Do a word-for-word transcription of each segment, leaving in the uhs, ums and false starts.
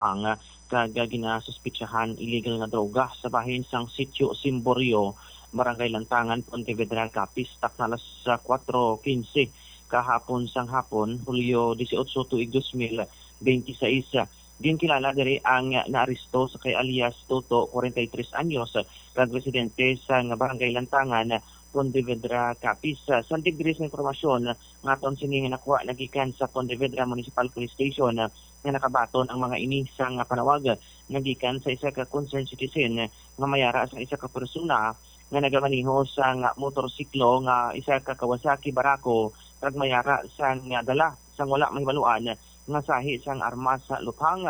Ang, ah, kag, ah, ginasuspitsahan illegal nga droga sa bahin sang Sitio Simborio, Barangay Lantangan, Pontevedra, Capiz, takna alas, ah, kuwatro quince kahapon sang hapon, Hulyo dieciocho, tuig dos mil benti seis. Ginkilala diri ang naaresto sa kay alias Toto, kwarenta y tres anyos, kag residente sa nga Barangay Lantangan, Pontevedra, Capiz. Sandig diri sa impormasyon nga aton sini nga nakuha nagikan sa Pontevedra Municipal Police Station, nga nakabaton ang mga ini sang panawag nagikan sa isa ka concerned citizen nga may ara sa isa ka persona nga nagamaneho sang motorsiklo nga isa ka Kawasaki Barako kag may ara sang dala sang wala mahibaluan nga sahi sang armas sa luthang.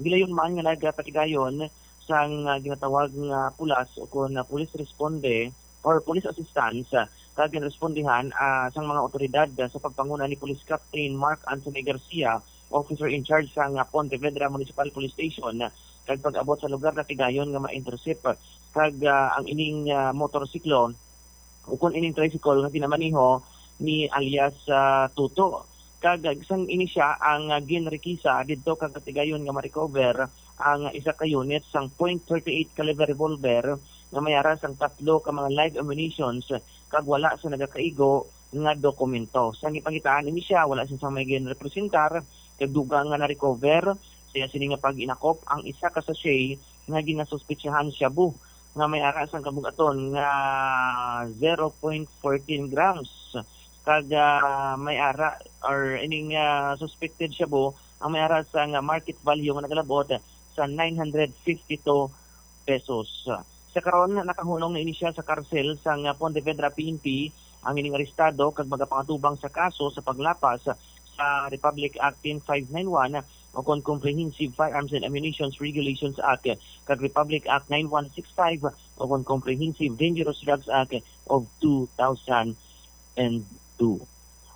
Gilayon man nga nagapatigayon sang ginatawag nga pulas o kon police responde or police assistance, ah, kag ginrespondihan, ah, sang mga awtoridad, ah, sa pagpanguna ni Police Captain Mark Anthony Garcia, officer in charge sang, ah, Pontevedra Municipal Police Station, ah, kag pag-abot sa lugar natigayon nga ma-intercept, ah, kag, ah, ang ining, ah, motorsiklo ukon ining tricycle nga ginamaneho ni alias, ah, Tuto. Kag, ah, sang ini sia ang, ah, ginrikisa didto kag natigayon nga ma-recover ang isa ka unit sang point thirty-eight caliber revolver nga may ara sang tatlo ka mga live ammunitions kag wala sa nagakaigo nga dokumento. Sa gipangitaan ini siya, wala siya sang may ginrepresentar kag dugang nga na-recover sa iya sini nga pag-inakop ang isa ka sachet nga ginasuspetsahan shabu nga may ara sang kabug-aton nga zero point fourteen grams kag, ah, may ara or ining, ah, suspected shabu ang may ara sang market value nga nagalabot sa nine hundred fifty-two pesos. Sa karon, nakahunong na ini siya sa karsel sang Pontevedra P N P ang ining arestado kag magapangatubang sa kaso sa paglapas sa Republic Act ten five nine one o kon Comprehensive Firearms and Ammunitions Regulations Act kag Republic Act nine one six five o kon Comprehensive Dangerous Drugs Act of two thousand and two.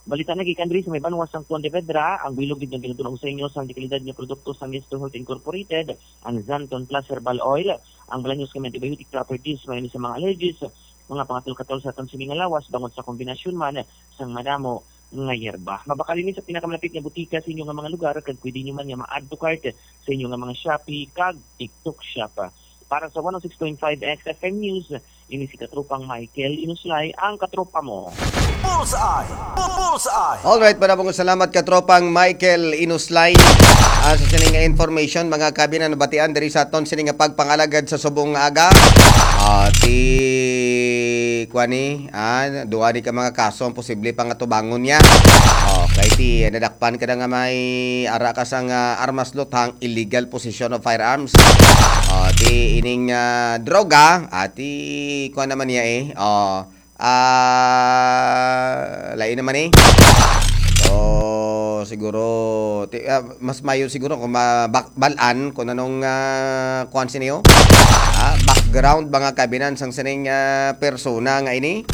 Balita na gikan diri sa may banwa sang Pontevedra, ang bilog gid nga ginatun-ong sa inyo sang dekalidad nga produkto sang Nesto Health Incorporated, ang Xanthone Plus Herbal Oil, ang balanyos nga may antibiotic properties, may sa mga allergies, mga pangatol-katol sa aton sini nga lawas, bangod sa kombinasyon man sang madamo nga yerba. Mabakal ini sa pinakamalapit nga butika sa inyo nga mga lugar, kag pwede nyo man nga ma-add to cart sa inyo nga mga Shopee kag TikTok shop. Para sa one oh six point five X F M News, ini si Katropang Michael Inuslay, ang katropa mo. Bullseye! Bullseye! Alright, madamo nga salamat, Katropang Michael Inuslay. Ah, sa sining nga information, mga kabinan, nabatian diri sa aton sining nga pagpangalagad sa subong nga aga. Ah, ti, kuan ni, ah, duha ni ka mga kaso ang posible pangatubangon niya. Oh, kay ti, nadakpan ka na nga may ara ka sang, ah, armas luthang, illegal possession of firearms. Oh, ti ining, ah, droga, ah, ti kuan naman niya eh. Oh, ah, lain naman eh. So, siguro, ti, ah, mas mayo siguro kung mabak-, balaan kung anong, ah, kuan siniyo. Ah, background, mga kabinan, sang sining, ah, persona nga ini.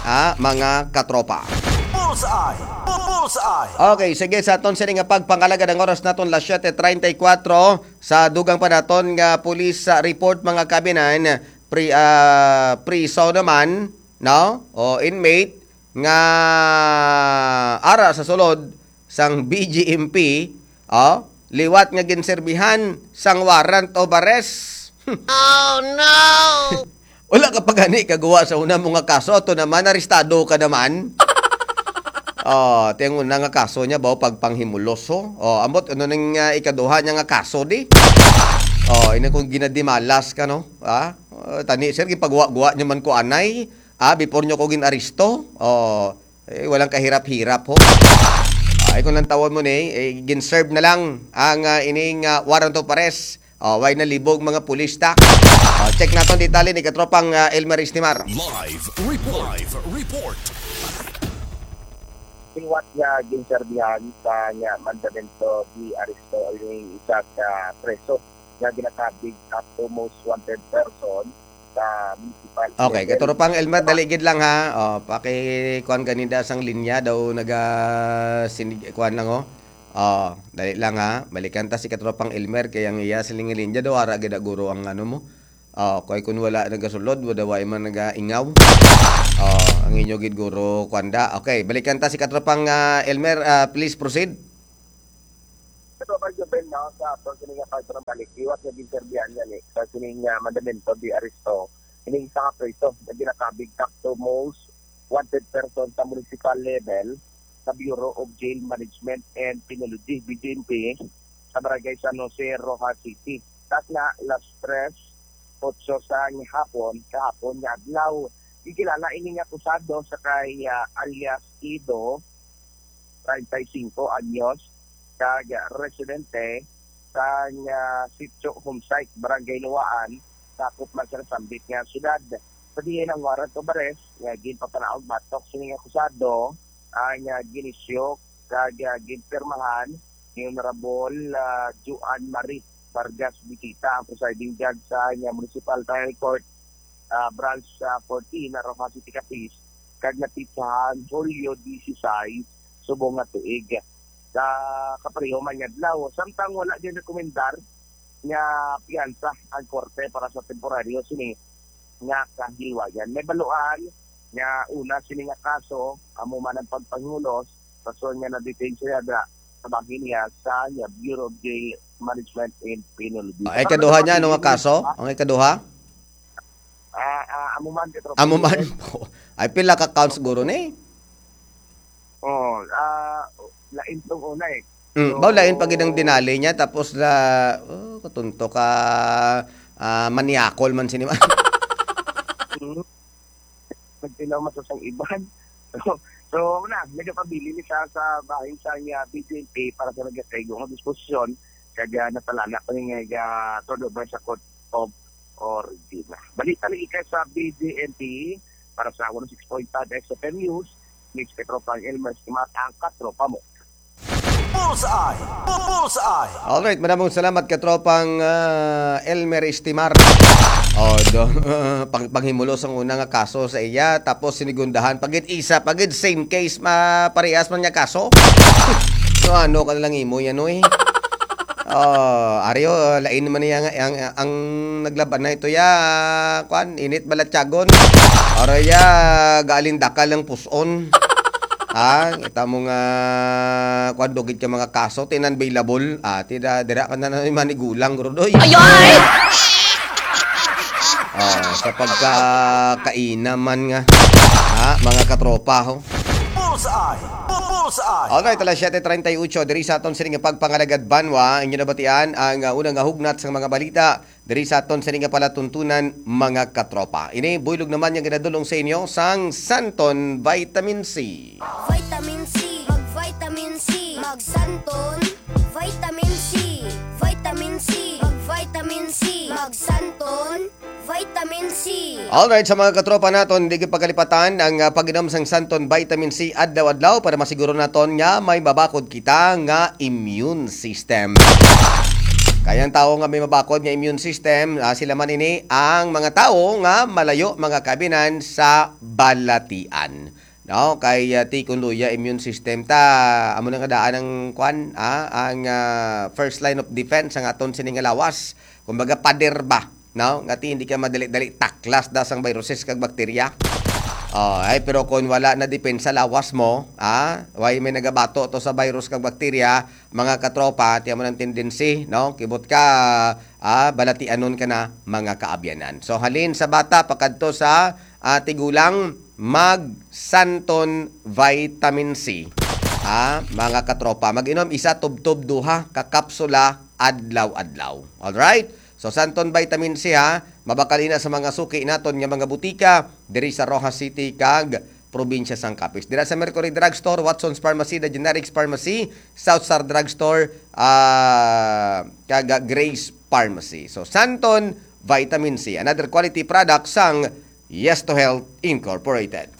Ah, mga katropa. Bullseye! Bu-, bullseye! Okay, sige, sa aton sini nga pagpangalagad ang oras naton, las siete treinta y cuatro. Sa dugang pa naton nga police, ah, report, mga kabinan, pri-, ah, priso naman, no? O inmate nga ara sa sulod sang B G M P, oh, liwat nga ginserbihan sang warrant of arrest. Oh, no! Wala ka pa gani kaguwa sa una mo nga kaso, ato naman, arestado ka naman. Oh, ti ang una nga kaso niya, baw pagpanghimulos, ho? Oh, ambot, ano ning, ah, ikaduha niya nga kaso, di? Oh, ini kung ginadimalas ka, no? Ah, oh, tani, sir, gipagwa-gwa niyo man ko anay. Ah, before niyo ko gin-aresto. Oh, eh, walang kahirap-hirap, ho. Ay, kung lang tawon mo ni, eh, gin-serve na lang ang, ah, ining, ah, warrant of arrest. Oh, way na libog mga pulis ta. Oh, check naton detalye ni katropang, ah, Elmer Estimar. Live report. Live report. Liwat nga ginserbihan sa nga mandamento di aresto ang isa ka preso nga ginakabig at most wanted person sa municipal Okay, level. Katropang Elmer, dali gid lang ha. Oh, paki-, kuan gani da sang linya daw naga-, sinig-, kuan lang, oh. Oh, dali lang ha. Balikan ta si katropang Elmer kay ang iya siling nga linya daw ara gid guro ang ano mo. Oh, kay kun wala nagasulod, wala way man nagaingaw. Oh, ang inyo gid guro kuan da. Okay, balikan ta si katropang, ah, Elmer, ah, please proceed. So, Pag Juven, no, sa ato sini nga pagtrabalik, iwas nga ginserbihan gani sa sining, ah, mandamento di aresto. Ining isa ka preso nga ginakabig top to most wanted person sa municipal level sa Bureau of Jail Management and Penology, B J M P, sa Barangay San Jose, Roxas City. Takna, las tres otso sa hapon, kahapon nga adlaw. Gikilala ini nga akusado sa kay, ah, alias Ido, treinta y cinco anyos, kag residente sang, ah, Sitio Homesite, Barangay Luwaan, sakop man sa nasambit nga syudad. Sa diin ang warrant of arrest nga ginpapanaog batok sining akusado ang, ah, gin-issue kag, ah, ginpirmahan ni Honorable, ah, Joan Marie Vargas Bitita, ang presiding judge sa, ah, Municipal Trial Court, ah, Branch, ah, fourteen, Roxas City, Capiz, kag napitsahan Hulyo disisais subong nga tuig. Sa kapareho man nga adlaw, samtang wala gid rekomendar nga piyansa ang korte para sa temporaryo sini nga kahilwayan. May baluan nga una sini nga kaso, amo man ang pagpangulos, rason nga na-detain siya dira sa bahin niya sa Bureau of Jail Management and Penology. Ang ikaduha niya, ano nga kaso? Ang ikaduha? Ah, ah, amo man, Petro. Amo man po. Ay, pila ka counts siguro ni? Oh, ah, lain tong una eh. Mm, So, ba, lain pag inang dinali niya, tapos na, oh, katunto ka, ah, maniakol man sini man. Mm. Nagtilaw man sa sang iban. So, so, na, nagapabilin ni sa, sa bahin sa niya B J M P para sa nagakaigo nga disposisyon, kag, ah, natalana pa ni nga, ah, turnover sa court of origin. Balita ni Ika sa B J M P para sa one oh six point five X F M News, Miss Katropang Elmer Simata, ang katropa mo. Bullseye! Bu-, Bullseye! Alright, madamong salamat, katropang, ah, Elmer Estimar. Oh, do, pang, panghimulos ang una nga kaso sa iya, tapos sinigundahan, pagid isa, pagid same case, ma, parehas man nga kaso. So, ano ka na lang imo yan, oy? Oh, Ario, lain naman niya nga, ang, ang naglaban na ito ya, kwan, init balatyagon. Oro ya, gaalindakal ang puson. Ha? Kita mo nga, kwan, dugid ka mga kaso, tinanbailable. Ah, tida, dira ka na naman ni gulang, Rudoy. Ayoy! Oh, sa pagkakainaman nga. Ha? Mga katropa, ho? Bullseye! Bu-, Bullseye! Alright, alas siyete treinta y ocho, diri sa aton sining pagpangalagad banwa, inyo nabatian ang, ah, unang nga hugnat sang mga balita. Diri sa aton sini nga palatuntunan, mga katropa. Ini buylog naman nga ginadulong sa inyo sang Santon Vitamin C. Vitamin C, mag-vitamin C, mag-Santon Vitamin C, vitamin C, mag-vitamin C, mag-Santon Vitamin C. Alright, sa mga katropa naton, di gyud pagkalipatan ang, ah, pag-inom sang Santon Vitamin C adlaw-adlaw para masiguro naton nga may mabakod kita nga immune system. Kaya ang tawo nga may mabakod nga immune system, ah, sila man ini ang mga tawo nga malayo mga kabinan sa balatian. No, kay, ah, ti kun luya immune system ta, amo na nga daan ang kwan, ah, ang, ah, first line of defense ang aton sini nga lawas. Kumbaga, pader ba, no? Nga ti hindi ka madali-dali taklas da sang viruses kag bakterya. Oh, ay, pero kung wala na depensa lawas mo, ah, way may nagabato to sa virus kag bakterya, mga katropa, tiyan mo ng tendency, no? Kibot ka, ah, balatianon ka na, mga kaabyanan. So, halin sa bata, pakadto sa, ah, tigulang, mag Santon Vitamin C. Ah, mga katropa, mag-inom isa tubtob duha ka kapsula adlaw-adlaw. Alright? So, Santon Vitamin C, ha, mabakal ina sa mga suki naton nga mga butika diri sa Roxas City kag probinsya sang Capiz. Dira sa Mercury Drugstore, Watson's Pharmacy, The Generics Pharmacy, South Star Drugstore, ah, kag Grace Pharmacy. So, Santon Vitamin C, another quality product sang Yes to Health Incorporated.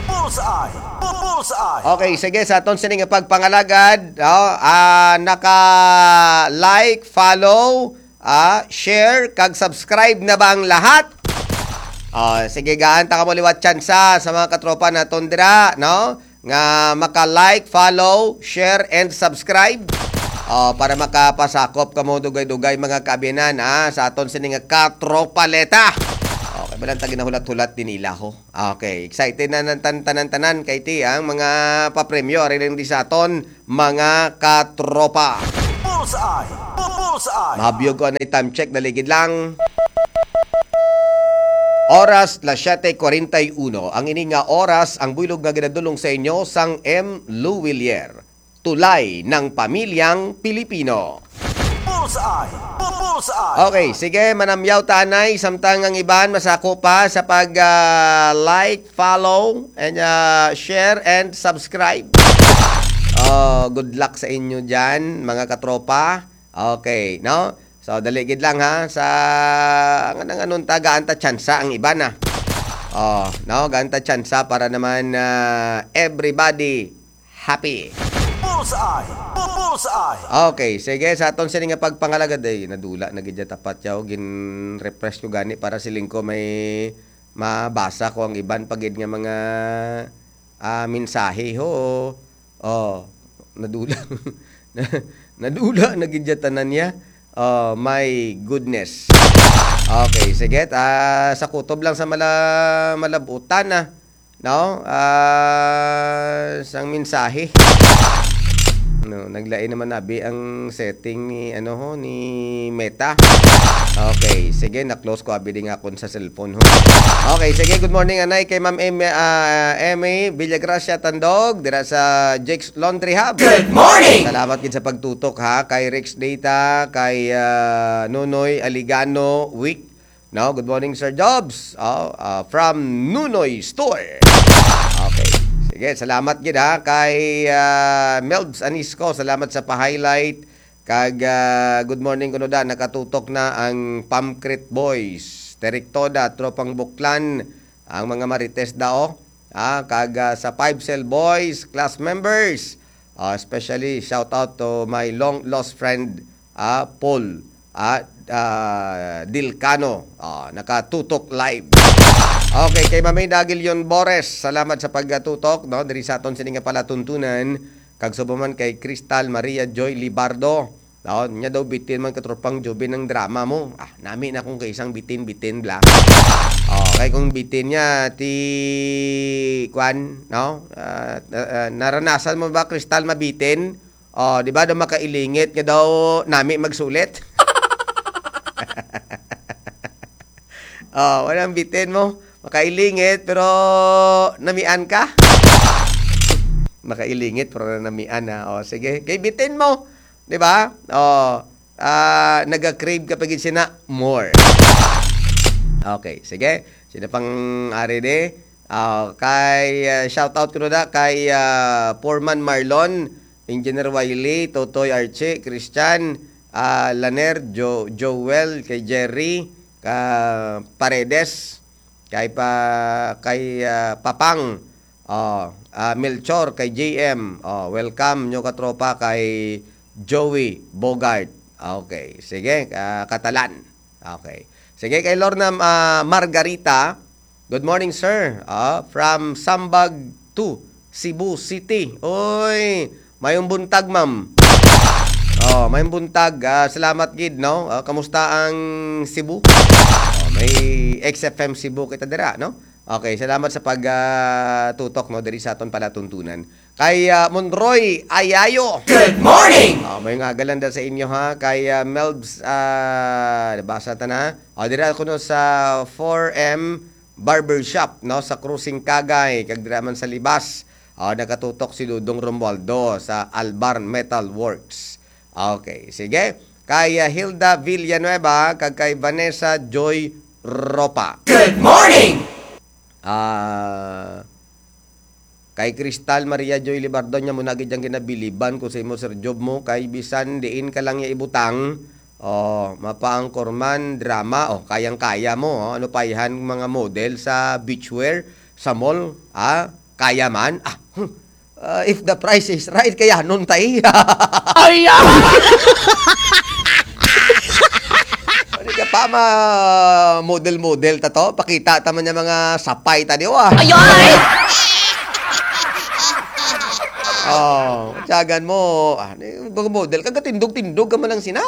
Bullseye! Bu-, Bullseye! Okay, sige, sa aton sini nga pagpangalagad, oh, ah, naka-like, follow, ah, share, kag subscribe na ba ang lahat? Oh, sige, gaan ta kamo liwat tsansa sa mga katropa naton dira, no? Nga maka-like, follow, share, and subscribe. Oh, para makapasakop kamo dugay-dugay, mga kaabyanan, ah, sa aton sini nga katropaleta. Okay, balang tagi na hulat-hulat din ilaho. Okay, excited na ng tan-, tanan-tanan kay ti ang mga papremyo ari lang di sa aton, mga katropa. Bullseye! Bullseye! Mahabiyog ko anay time check, dali gid lang. Oras, las siete cuarenta y uno. Ang ini nga oras, ang buylog nga ginadulong sa inyo sang M. Lou Willier. Tulay ng pamilyang Pilipino. Bullseye! Bullseye! Okay, sige, manamyaw ta anay, samtang ang iban masako pa sa pag, ah, like, follow, and, ah, share, and subscribe. Oh, good luck sa inyo dyan, mga katropa. Okay, no? So, dali gid lang, ha, sa, ang, ang anong ta, gaan ta tsansa ang iban, ah. Oh, no, gaan ta tsansa para naman, ah, everybody happy. Bullseye! Bu-, Bullseye! Okay, sige, sa aton sini nga pagpangalagad, ay, nadula na gid ya tapat yaw, gin-refresh ko gani para siling ko may mabasa ko ang iban pa gid nga mga, ah, mensahe, ho. Oh, nadula. Nadula na gid ya tanan niya. Oh, my goodness. Okay, sige, ah, sa kutob lang sa mala-, malabutan, ah. No? Ah, sang mensahe. No, naglain naman abi ang setting ni, ano, ho, ni Meta. Okay, sige, na-close ko abi din nga akon sa cellphone, ho. Okay, sige, good morning, anay, kay Ma'am Em-, ah, Emmy Villagracia Tandog, dira sa Jake's Laundry Hub. Good morning! Salamat gid sa pagtutok, ha, kay Rex Data, kay, ah, Nonoy Aligano, Wick, no? Good morning, Sir Jobs. Oh, ah, from Nunoy Store. Okay. Sige, salamat gid, ha, kay, ah, Melbs Anisco. Salamat sa pa-highlight. Kag, ah, good morning kuno da, nakatutok na ang Pamcrit Boys. Terek Toda, Tropang Buklan, ang mga Marites da, oh. Ah, kag, ah, sa Five Cell Boys, class members. Ah, especially shout out to my long lost friend, ah, Paul, ah, ah, Dilcano. Ah, nakatutok live. Okay, kay Mamay Dagilion Bores, salamat sa pagatutok, no, diri sa aton sini nga palatuntunan. Kag subong man kay Crystal Maria Joy Libardo. No, nya daw bitin man, katropang Jubin, ang drama mo. Ah, nami na kung kaisang bitin-bitin bla. Oh, kay kung bitin niya ti kwan, no? Ah, ah, ah, naranasan mo ba, Crystal, mabitin? Oh, di ba daw makailingit nga daw nami magsulit? Oh, walang bitin mo. Makailingit pero namian ka. Makailingit pero namian na. Oh, sige. Kay bitin mo, di ba? Oh, ah, naga-crave ka pa gid sina more. Okay, sige. Sino pang ari di? Ah, kay, ah, shout out ko na kay, ah, Foreman Marlon, Engineer Wiley, Totoy Archie, Christian, ah, Laner, Jo-, Joel, kay Jerry, ka Paredes, kay pa-, kay, ah, Papang, oh, ah, Melchor, kay J M. Oh, welcome nyo katropa kay Joey Bogart. Okay, sige, ah, Katalan. Okay. Sige, kay Lorna, ah, Margarita. Good morning, sir. Ah, from Sambag two, Cebu City. Oy, mayong buntag, ma'am. Oh, mayong buntag. Ah, salamat gid, no? Ah, kamusta ang Cebu? Oh, may X F M Cebu kita dira, no? Okay, salamat sa pag, ah, tutok, no, diri sa aton palatuntunan. Kay, ah, Monroy Ayayo. Good morning! Oh, mayong aga lang da sa inyo, ha. Kay, ah, Melbs, ah, nabasa ta na. Oh, dira kuno sa four M Barbershop, no, sa Crossing Kagay, kag dira man sa Libas. Oh, nakatutok si Dudong Romualdo sa Albar Metal Works. Okay, sige. Kay, ah, Hilda Villanueva, kag kay Vanessa Joy Ropa. Good morning! Ah, kay Crystal Maria Joy Libardo, nya mo na gid ang ginabiliban ko sa imo, Sir Job mo, kay bisan diin ka lang ya ibutang, oh, mapaangkor man, drama, oh, kayang-kaya mo, oh, ano pa ihan mga model sa beachwear, sa mall, ah, kaya man, ah, hmm. Ah, if the price is right, kaya nun tay. Ay, ah! Ano ka pa, ma-model-model ta to? Pakita ta man yung mga sapay ta, di ba? Ay, ay! Oh, tiyagan mo. Ah, ni-, mag-model ka, katindog-tindog ka man lang sina.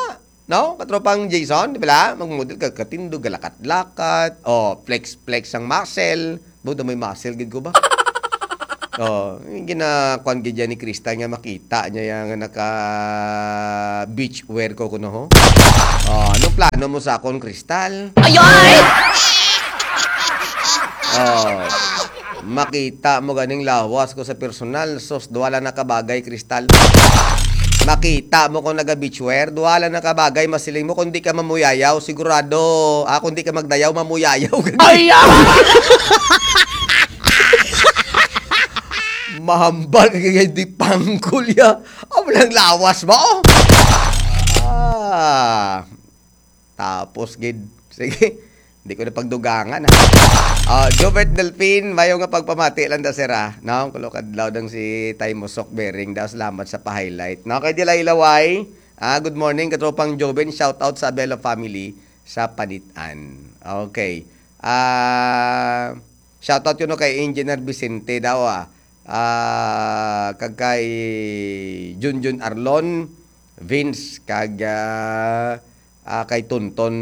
No? Katropang Jason, di ba? Mag-model ka, katindog, galakat-lakat. Oh, flex-flex ang muscle. Buta may muscle, gid ko ba? Oh, yung ginakuan gid yan ni Crystal nga makita niya yung naka beach wear ko kuno ho. Oh, anong plano mo sa akon, Crystal? Ay, ay! Oh, makita mo ganing lawas ko sa personal. Sus, duha lang na kabagay, Crystal. Makita mo kung naga beach wear, duha lang na kabagay masiling mo kung di ka mamuyayaw, sigurado. Ah, kung di ka magdayaw, mamuyayaw ka. Ay, ah! Mahambal ka kay di pangkol ya. Amo lang lawas mo. Ah. Tapos gid. Sige. Di ko na pagdugangan, ha. Ah, Jobert Delfin, mayo nga pagpamati lang da, sir, ah. No, kulo kadlaw dang si Tay Musok Bering daw. Salamat sa pa-highlight. No, kay Dilay Laway. Ah, good morning, katropang Joven. Shout out sa Abelo family sa Panitan. Okay. Ah, shout out kuno kay Engineer Vicente daw, ah. Ah, kag kay Junjun Arlon, Vince, kag, ah, ah, kay Tonton,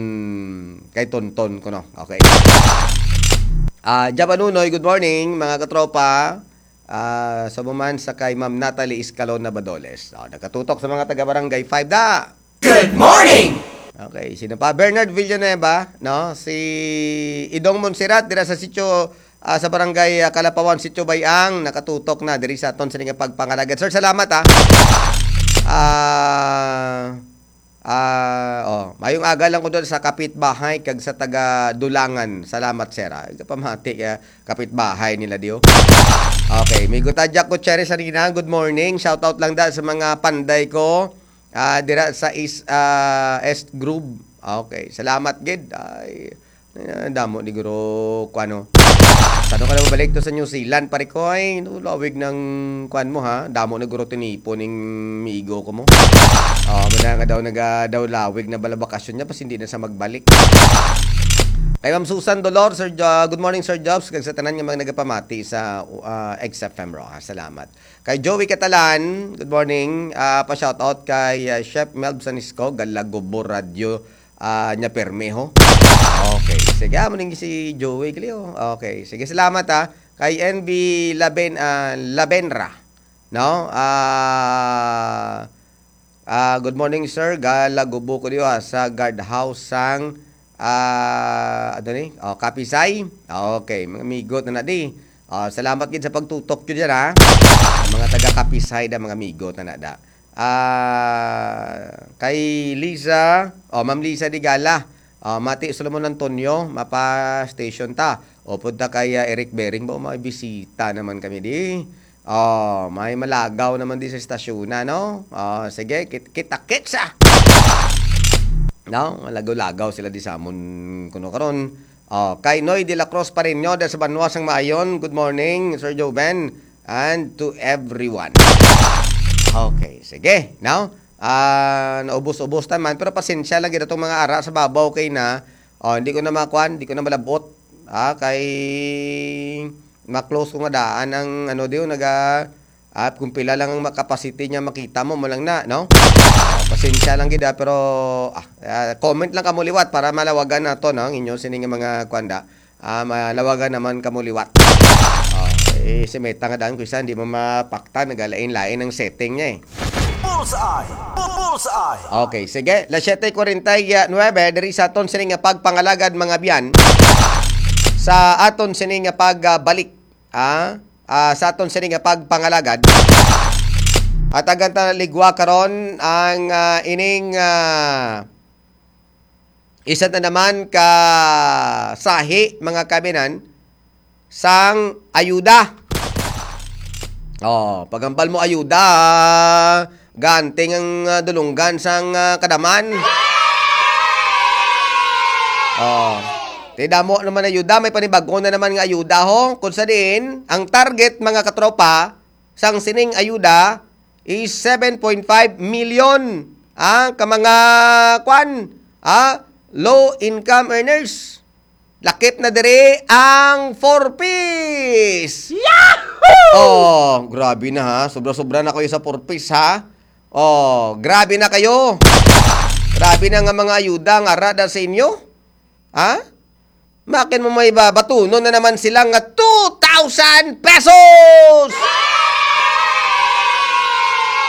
kay Tonton kuno. Okay. Ah, Java Nunoy, good morning, mga katropa. Ah, sa buman sa kay Ma'am Natalie Escalona Badoles. Ah, nakatutok sa mga taga Barangay five da. Good morning! Okay, sino pa? Bernard Villanueva, no? Si Idong Montserrat, dira sa sitio, ah, sa Barangay, ah, Kalapawan, Sitio Bayang, nakatutok na diri sa aton sini nga pagpangalagad. Sir, salamat, ha. Ah, ah, oh, mayong aga lang ko doon sa kapitbahay kag sa taga Dulangan. Salamat, sir, ha. Kapamati, ah, kapitbahay nila, diyo. Okay, Migo Tadyak Gutierrez, Sarina, good morning. Shout out lang da sa mga panday ko. Ah, dira sa East, ah, East Grove. Okay, salamat gid. Ay, ah, damo ni guro ko ano. Sa ano ka na mabalik to sa New Zealand, pare ko? Ay, no, lawig ng kuan mo, ha. Damo na guro tinipo ning migo ko mo. Oh, muna nga daw naga daw lawig na bala bakasyon niya pas hindi na sa magbalik. Kay Ma'am Susan Dolor, Sir Jo-, good morning, Sir Jobs, kag sa tanan nga mga nagapamati sa, ah, X F M Roja. Salamat. Kay Joey Catalan, good morning. Ah, pa-shoutout kay, ah, Chef Melb Sanisco, Galagobo Radio, ah, nya permi, ho. Okay. Sige, amo ning si Joey Cleo. Okay. Sige, salamat, ha. Kay N B Laben-, ah, Labenra, no? Ah, ah, good morning, sir. Galagubo ko diyo, ah, sa guard house sang, ah, ano ni? Oh, Kapisay. Okay, mga amigo na na di. Ah, salamat gid sa pagtutok nyo dyan, ha. Ang mga taga Kapisay da, mga amigo na na da. Ah, kay Lisa, oh, Ma'am Lisa Digala. Ah, Mati Solomon Antonio, mapa-station ta. O, punta kay, ah, Eric Bering, ba, may bisita naman kami di. Oh, may malagaw naman di sa estasyon na, no? Oh, sige, kit-, kita-kits, ah! No? Malagaw-lagaw sila di sa amon kuno karon. Oh, kay Noy de la Cruz Pareño, da sa Banwa sang Maayon, good morning, Sir Joven, and to everyone. Okay, sige, no? Ah, naubos-ubos ta man, pero pasensya lang gid atong mga ara sa babaw kay na, oh, hindi ko na makuan, hindi ko na malabot. Ah, kay ma-close ko nga daan ang ano diyo, naga, ah, kung pila lang ang ma-, capacity niya makita mo, mo lang na, no? Ah, pasensya lang gid, ah, pero, ah, ah, comment lang kamo liwat para malawagan nato, no, ang inyo sini nga mga kuan da. Ah, malawagan naman kamo liwat. Oh, eh, si Meta nga daan ko isa, hindi mo mapaktan, nagalain-lain ang setting niya eh. Bullseye! Bu-, Bullseye! Okay, sige. Las siete cuarenta y nueve, diri sa aton sini nga pagpangalagad, mga biyan. Sa aton sini nga pagbalik, ah, ah, sa aton sini nga pagpangalagad. At agan ta ligwa karon ang, ah, ining, ah, isa na naman ka sahi, mga kaminan, sang ayuda. Oh, paghambal mo ayuda, ganting ang, ah, dulunggan sang, ah, kadaman. Oh. Ti damo naman ayuda, may panibago na naman nga ayuda, ho. Kung sa diin, ang target, mga katropa, sang sining ayuda is seven point five million, ah, ka mga, kwan, ah, low income earners. Lakip na diri ang four Ps. Yahoo! Oh, grabe na ha. Sobra-sobra na kayo sa four Ps ha. Oh, grabe na kayo. Grabe na nga mga ayuda nga ara da sa inyo. Ha? Makin mo may ba-, batunon na naman sila nga two thousand pesos!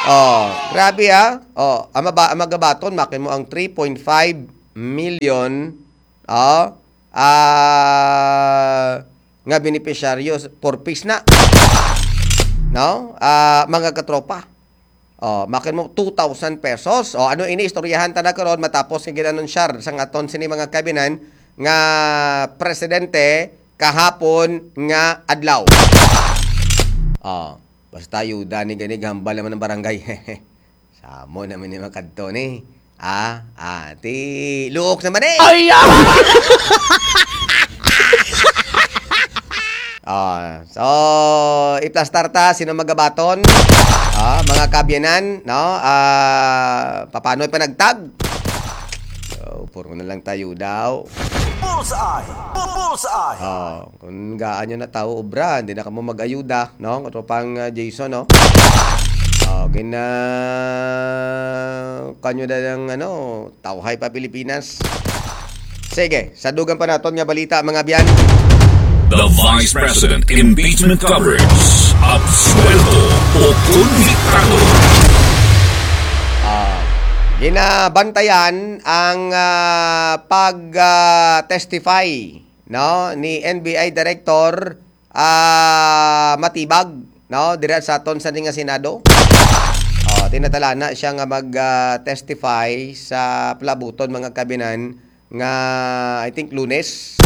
Oh, grabe, ah. Oh, ang maba-, ang magabaton, makin mo ang three point five million, oh, ah, nga benepisyaryo s-, four Ps na. No? Ah, mga katropa. Oh, makin mo two thousand pesos. Oh, ano ini, istoryahan ta na karon matapos nga gin-anunsyar sang aton sini mga kabinan nga presidente kahapon nga adlaw. Oh, basta ayuda ni gani, hambal naman ang barangay. Samo naman ni makadto ni. Ah, ah, ti luok naman eh. Ay, ah! Oh, so, iplastar ta, sino magabaton? Ah, mga kabyanan, no? Ah, paano ipanagtag? So, puro na lang tayo daw. Bullseye! Bullseye! Oh, kung gaan nyo na tao obra, hindi na kamo mag-ayuda, no? Katropang, ah, Jason, no? Oh, gina-, kanyo na lang, ano, tawhay pa Pilipinas. Sige, sa dugang pa naton nga balita, mga byan. The Vice President Impeachment Coverage. Absuelto o konbiktado? Ah, ginabantayan ang, ah, pag, ah, testify, no, ni N B I Director, ah, Matibag, no, dira sa aton sa nga Senado. Oh, tinatalana siya nga mag, ah, testify sa palabuton, mga kabinan, nga, I think, Lunes.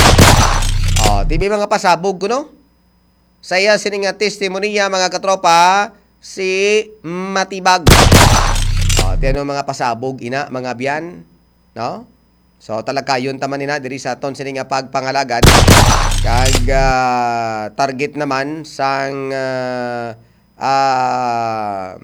Oh, ti may mga pasabog kuno. Sa iya sini nga testimonya, mga katropa, si Matibag. Oh, ti ano mga pasabog ina, mga byan, no? So, talakayon ta man ina diri sa aton sini nga pagpangalagad. Kag, ah, target naman sang, ah, ah,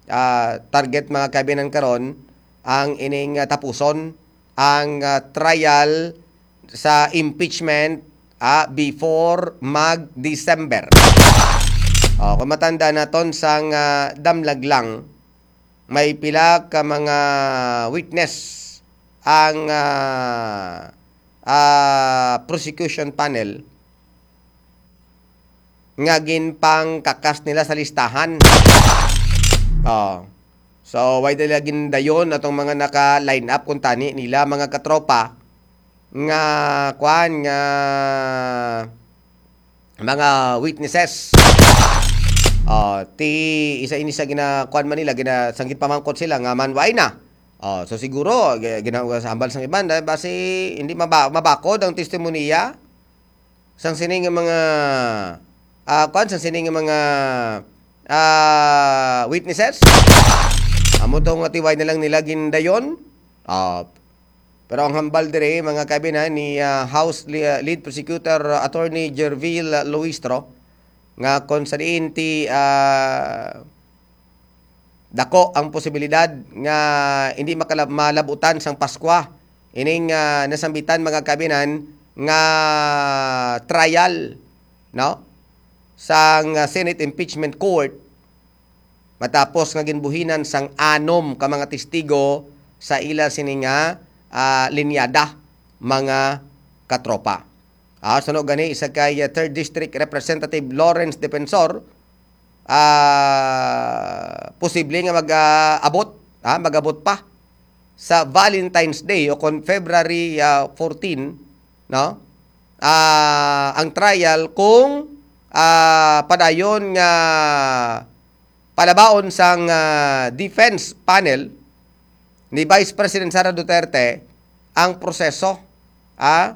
ah, target, mga kabinan, karon ang ining, ah, tapuson ang, ah, trial sa impeachment, ah, before mag-December. Oh, kung matanda naton sang, ah, damlag lang, may pila ka mga witness ang, ah, ah, prosecution panel nga ginpangkakas nila sa listahan. Oh. So, why nila gindayon atong mga naka-line up kung tani nila, mga katropa, nga, kwan, nga mga witnesses? Oh, ti isa ini sa gina-, kwan man nila, gina-, sang ginpamangkot sila nga man, why na? Oh, so siguro, gi-, gina-, sa hambal sang iban, dahil basi hindi maba-, mabakod ang testimonya sang sini nga mga, ah, kwan, sang sini nga mga, ah, witnesses. Amo to nga ti why na lang nila gindayon. Ah, pero ang hambal diri, mga kabinan, ni, ah, House Li-, ah, Lead Prosecutor, ah, Attorney Gerville Luistro, nga kung sa diin ti, ah, dako ang posibilidad nga hindi makala-, malabutan sang Paskwa ining, ah, nasambitan, mga kabinan, nga trial, no, sang, ah, Senate Impeachment Court, matapos nga ginbuhinan sang anom ka mga testigo sa ila sini nga, ah, linyada, mga katropa. Ah, suno gani, isa kay, ah, Third District Representative Lawrence Defensor, ah, posible nga mag, ah, abot, ah, mag-abot pa sa Valentine's Day o kon February, ah, fourteen, no? Ah, ang trial kung, ah, padayon nga palabaon sang, ah, defense panel ni Vice President Sara Duterte ang proseso, ah,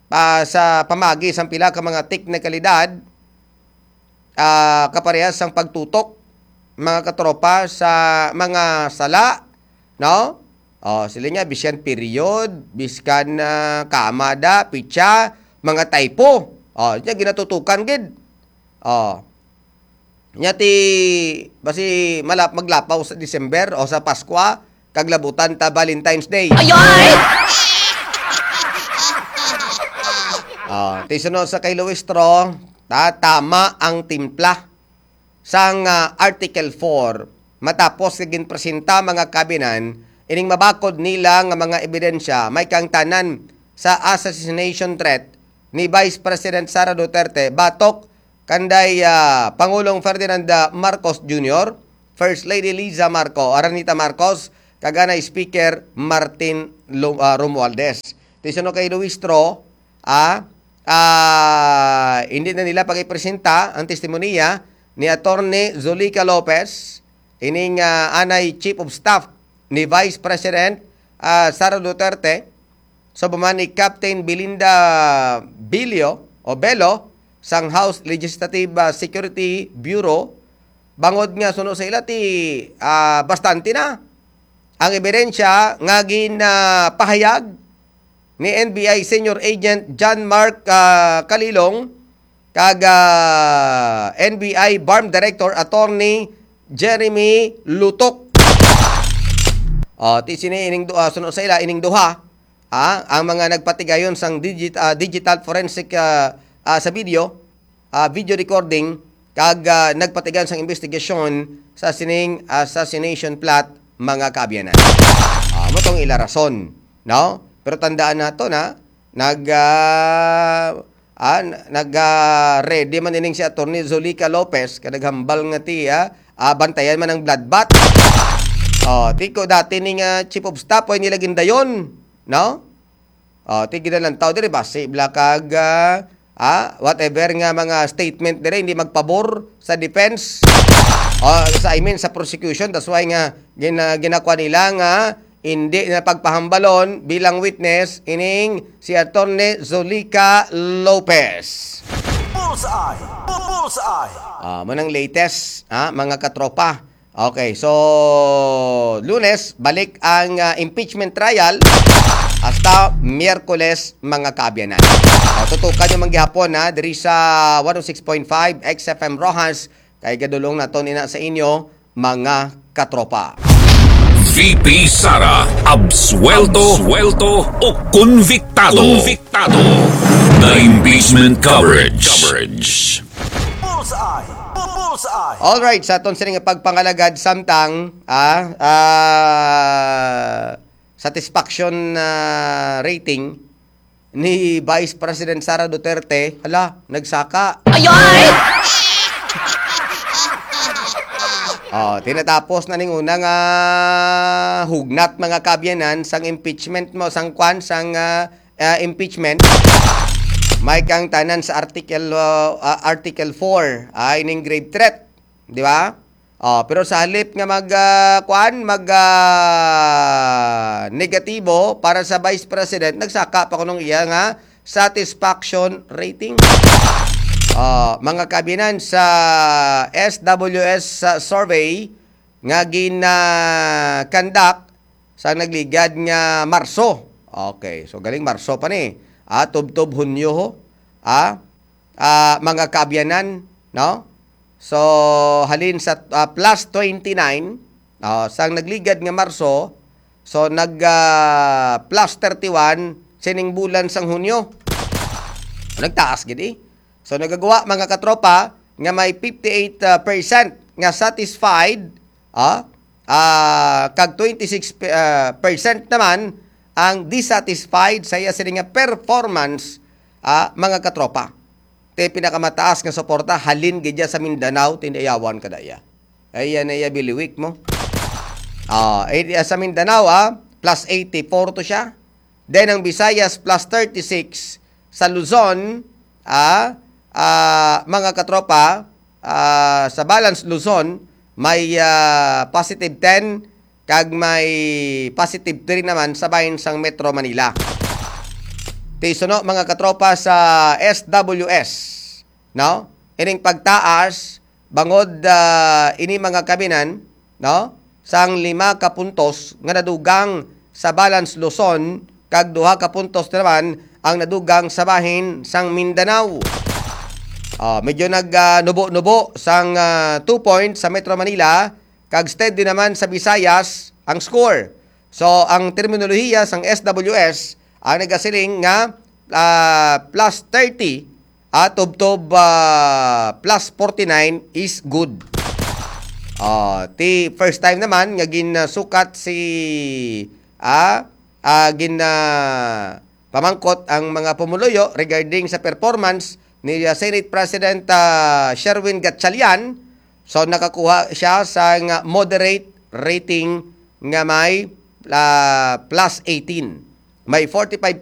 pa-, sa pamagi sang pila ka mga teknikalidad, ah, kaparehas sang pagtutok, mga katropa, sa mga sala, no? Oh, sila niya, biskan period, biskan, ah, kama da, pitsa, mga typo. Oh, niya ginatutukan gid. Oh. Nya ti, basi malap-, maglapaw sa December o sa Paskwa, kag labutan ta Valentine's Day. Ayoy! Ah, ti suno sa kay Luistro, ta-, tama ang timpla sang, ah, Article four, matapos nga ginpresenta, mga kabinan, ining mabakod nila nga mga ebidensya, may kaangtanan sa assassination threat ni Vice President Sara Duterte batok kanday, ah, Pangulong Ferdinand, ah, Marcos Junior, First Lady Liza Marco, Aranita Marcos, kag anay Speaker Martin Lu-, ah, Romualdez. Ti suno kay Luis Tro, ah, ah, hindi na nila pag-ipresenta ang testimonya ni Attorney Zulica Lopez, ining, ah, anay Chief of Staff ni Vice President, ah, Sara Duterte, subong man ni Captain Belinda Bilio o Bello sang House Legislative, ah, Security Bureau, bangod nga suno sa ila ti, ah, bastante na ang ebidensya nga ginapahayag ni N B I Senior Agent John Mark, ah, Kalilong kag, ah, N B I BARMM Director Attorney Jeremy Lutok. Oh, ti sini ining du-, ah, suno sa ila ining duha, ah, ang mga nagpatigayon sang digit-, ah, digital forensic, ah, ah, sa video, ah, video recording kag, ah, nagpatigayon sang investigasyon sa sining assassination plot, mga kaabyanan. Ah, mo tong ila rason, no? Pero tandaan nato na nag, ah, ah, n-, nag, ah, ready man ining si Attorney Zulica Lopez, kay naghambal nga ti, ah, ah, bantayan man ang bloodbath. Oh, tiko dati ni nga chief of staff, way nila gindayon, no? Oh, ti ginalantaw diri, basi bala kag, ah, ah, whatever nga mga statement diri, hindi magpabor sa defense. Oh, sa, I mean, sa prosecution. That's why nga gina-, ginakwa nila nga hindi na pagpahambalon bilang witness ining si Attorney Zulica Lopez. Bullseye! Bullseye! Ah, mo nang latest, ha, mga katropa. Okay, so Lunes, balik ang, ah, impeachment trial hasta Miyerkules, mga kaabyanan. O, tutukan nyo man gihapon, ha, diri sa one oh six point five X F M Roxas, kay gadulong naton ina sa inyo, mga katropa. V P Sara, absuelto, absuelto o konbiktado. Konbiktado. The impeachment coverage. Coverage. Bullseye! Bullseye! Alright, sa aton sini nga pagpangalagad, samtang, ah, ah, satisfaction, ah, rating ni Vice President Sara Duterte, hala, nagsaka. Ayoy! Oh, tinatapos na ning una nga hugnat, mga kaabyanan, sang impeachment mo, sang kwan, sang, ah, ah, impeachment. May kang tanan sa Article, ah, ah, Article four, ah, ining grave threat, di ba? Oh, pero sa halip nga mag, ah, kuan, mag, ah, negatibo para sa Vice President, nagsaka pa kunong iya nga satisfaction rating. Ah, mga kaabyanan, sa S W S, ah, survey nga gina-conduct sa nagligad nga Marso. Okay, so galing Marso pa ni. Ah, tubtob Hunyo ho. Ah, ah, mga kaabyanan, no? So, halin sa, ah, plus twenty-nine, ah, sang nagligad nga Marso, so nag, ah, plus thirty-one sining bulan sang Hunyo. Nagtaas gid, eh. So, nagagawa, mga katropa, nga may fifty-eight, ah, percent nga satisfied, ah, ah, kag twenty-six, ah, percent naman ang dissatisfied sa iya sini nga performance, ah, mga katropa. Ti pinakamataas nga suporta halin gid iya sa Mindanao, tindayawan kada iya. Ay, yan na iya biliwik mo. Ah, eh, sa Mindanao, ah, plus eighty-four to siya. Then ang Visayas, plus thirty-six. Sa Luzon, ah, ah, mga katropa, ah, sa Balance Luzon, may, ah, positive ten kag may positive three naman sa bahin sang Metro Manila. Ti suno, mga katropa, sa S W S, no? Ining pagtaas bangod, ah, ini, mga kaabyanan, no? Sang lima ka puntos nga nadugang sa Balance Luzon, kag duha ka puntos naman ang nadugang sa bahin sang Mindanao. Ah, medyo nag, ah, nubo-nubo sang, ah, two points sa Metro Manila, kag steady naman sa Visayas ang score. So, ang terminolohiya sang S W S ang nagasiling nga, ah, plus thirty, ah, tubtob, ah, plus forty-nine is good. Ah, ti first time naman nga ginsukat si, ah, ah, gin, ah, pamangkot ang mga pumuluyo regarding sa performance ni, uh, Senate President, uh, Sherwin Gatchalian. So, nakakuha siya sa nga moderate rating nga may, uh, plus eighteen. May forty-five